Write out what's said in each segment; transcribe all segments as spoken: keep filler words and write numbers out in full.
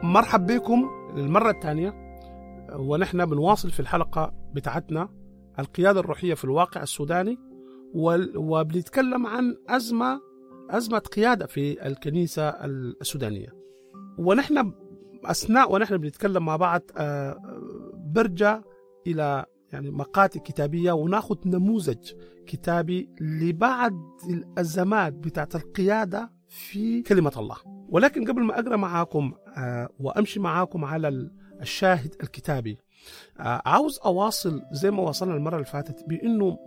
مرحب بكم للمرة الثانية، ونحن بنواصل في الحلقة بتاعتنا القيادة الروحية في الواقع السوداني، وبنتكلم عن أزمة أزمة قيادة في الكنيسة السودانية. ونحن أثناء ونحن بنتكلم مع بعض برجع إلى يعني مقاطع كتابية وناخذ نموذج كتابي لبعض الأزمات بتاعت القيادة في كلمة الله. ولكن قبل ما أقرأ معاكم وأمشي معاكم على الشاهد الكتابي، عاوز أواصل زي ما وصلنا المرة اللي فاتت بأنه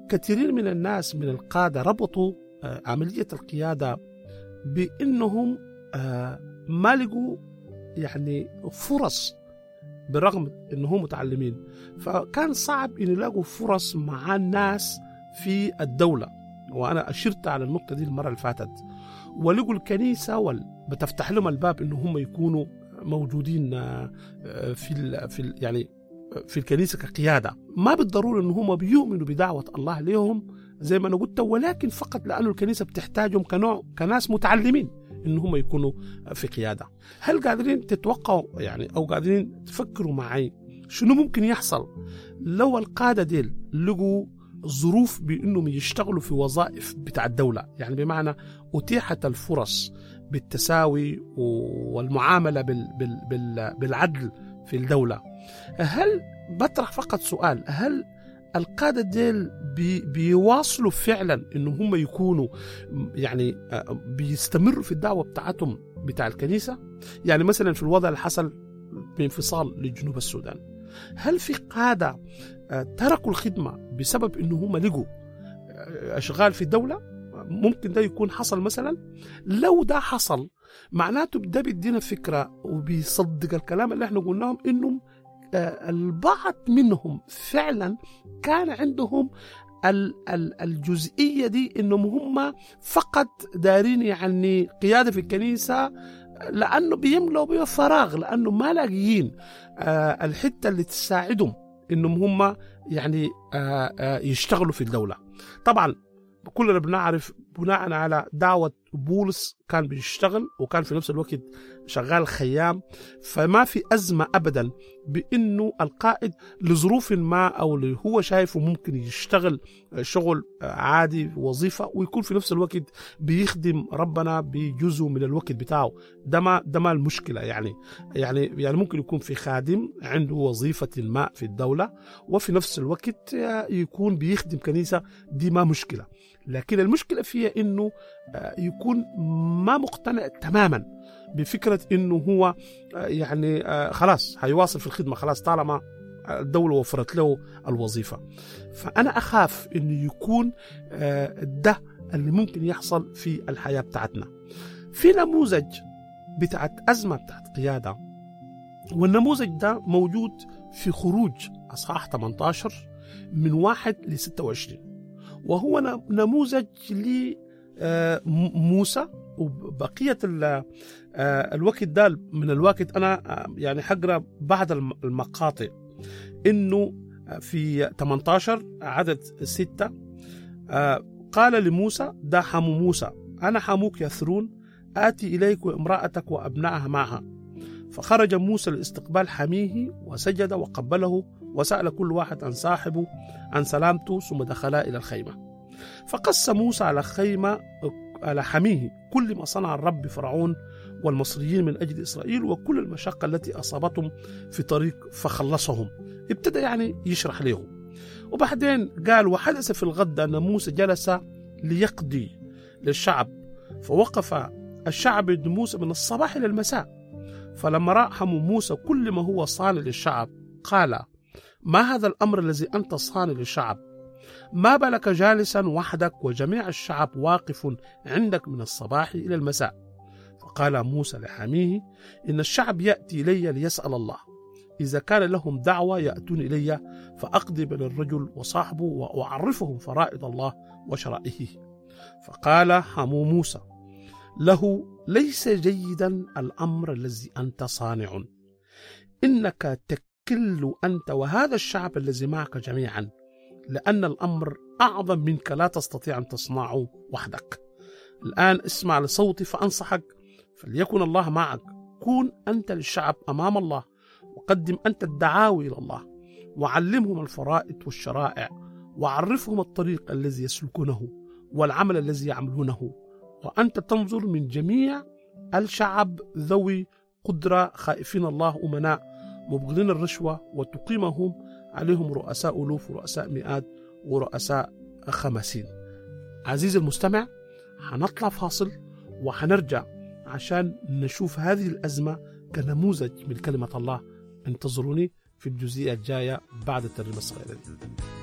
كثيرين من الناس من القادة ربطوا عملية القيادة بأنهم ما لقوا يعني فرص بالرغم أنهم متعلمين، فكان صعب أن يلاقوا فرص مع الناس في الدولة، وأنا أشرت على النقطة دي المرة اللي فاتت. ولقوا الكنيسة وال... بتفتح لهم الباب إنه هم يكونوا موجودين في ال... في ال... يعني في الكنيسة كقيادة. ما بالضرورة إنه هم بيؤمنوا بدعوة الله لهم زي ما أنا قلت، ولكن فقط لأنه الكنيسة بتحتاجهم كنوع كناس متعلمين إن هم يكونوا في قيادة. هل قادرين تتوقعوا يعني أو قادرين تفكروا معي شنو ممكن يحصل لو القادة ديل لقوا ظروف بأنهم يشتغلوا في وظائف بتاع الدولة؟ يعني بمعنى أتيحت الفرص بالتساوي والمعاملة بال بال بال بالعدل في الدولة. هل بطرح فقط سؤال، هل القادة ديل بي بيواصلوا فعلا إنه هم يكونوا يعني بيستمروا في الدعوة بتاعتهم بتاع الكنيسة؟ يعني مثلا في الوضع اللي حصل بانفصال لجنوب السودان، هل في قادة تركوا الخدمة بسبب إنه هم لقوا أشغال في الدولة؟ ممكن ده يكون حصل مثلا. لو ده حصل معناته ده بيدينا فكرة وبيصدق الكلام اللي احنا قلناهم، إنهم البعض منهم فعلا كان عندهم الجزئية دي، إنهم هم فقط دارين يعني قيادة في الكنيسة لأنه بيملوا بيه فراغ، لأنه ما لاقيين الحتة اللي تساعدهم إنهم هم يعني يشتغلوا في الدولة. طبعا كلنا بنعرف بناء على دعوة بولس كان بيشتغل وكان في نفس الوقت شغال خيام، فما في أزمة أبدا بأنه القائد لظروف ما أو اللي هو شايفه ممكن يشتغل شغل عادي وظيفة ويكون في نفس الوقت بيخدم ربنا بجزء من الوقت بتاعه. ده ما ده ما المشكلة. يعني يعني يعني ممكن يكون في خادم عنده وظيفة ما في الدولة وفي نفس الوقت يكون بيخدم كنيسة، دي ما مشكلة. لكن المشكلة فيها إنه يكون ما مقتنع تماما بفكرة إنه هو يعني خلاص هيواصل في الخدمة، خلاص طالما الدولة وفرت له الوظيفة. فأنا أخاف إنه يكون ده اللي ممكن يحصل في الحياة بتاعتنا. في نموذج بتاعت أزمة بتاعت قيادة، والنموذج ده موجود في خروج أصحاح ثمانية عشر من واحد ل ستة وعشرين، وهو نموذج لموسى وبقية الوقت ده. من الوقت أنا يعني حقرأ بعض المقاطع. إنه في ثمانية عشر عدد ستة قال لموسى، ده حمو موسى، أنا حموك يثرون، آتي إليك وامرأتك وأبنائها معها. فخرج موسى لاستقبال حميه وسجد وقبله وسأل كل واحد عن صاحبه عن سلامته، ثم دخلا إلى الخيمة. فقص موسى على خيمة على حميه كل ما صنع الرب فرعون والمصريين من أجل إسرائيل وكل المشقة التي أصابتهم في طريق فخلصهم. ابتدى يعني يشرح لهم. وبعدين قال، وحدث في الغد أن موسى جلس ليقضي للشعب، فوقف الشعب عند موسى من الصباح إلى المساء. فلما رأى حمو موسى كل ما هو صانع للشعب قال، ما هذا الأمر الذي أنت صانع للشعب؟ ما بالك جالسا وحدك وجميع الشعب واقف عندك من الصباح إلى المساء؟ فقال موسى لحاميه، إن الشعب يأتي إلي ليسأل الله، إذا كان لهم دعوة يأتون إلي فأقضي بين الرجل وصاحبه وأعرفهم فرائض الله وشرائعه. فقال حمو موسى له، ليس جيدا الأمر الذي أنت صانع، إنك تكل أنت وهذا الشعب الذي معك جميعا، لأن الأمر أعظم منك، لا تستطيع أن تصنعه وحدك. الآن اسمع لصوتي فأنصحك، فليكن الله معك، كون أنت للشعب أمام الله، وقدم أنت الدعاوي إلى الله، وعلمهم الفرائض والشرائع، وعرفهم الطريق الذي يسلكونه والعمل الذي يعملونه. وأنت تنظر من جميع الشعب ذوي قدرة، خائفين الله، أمناء، مبغضين الرشوة، وتقيمهم عليهم رؤساء ألوف ورؤساء مئات ورؤساء خمسين. عزيزي المستمع، هنطلع فاصل وهنرجع عشان نشوف هذه الأزمة كنموذج من كلمة الله. انتظروني في الجزئية الجاية بعد الترجمة الصغيرة دي.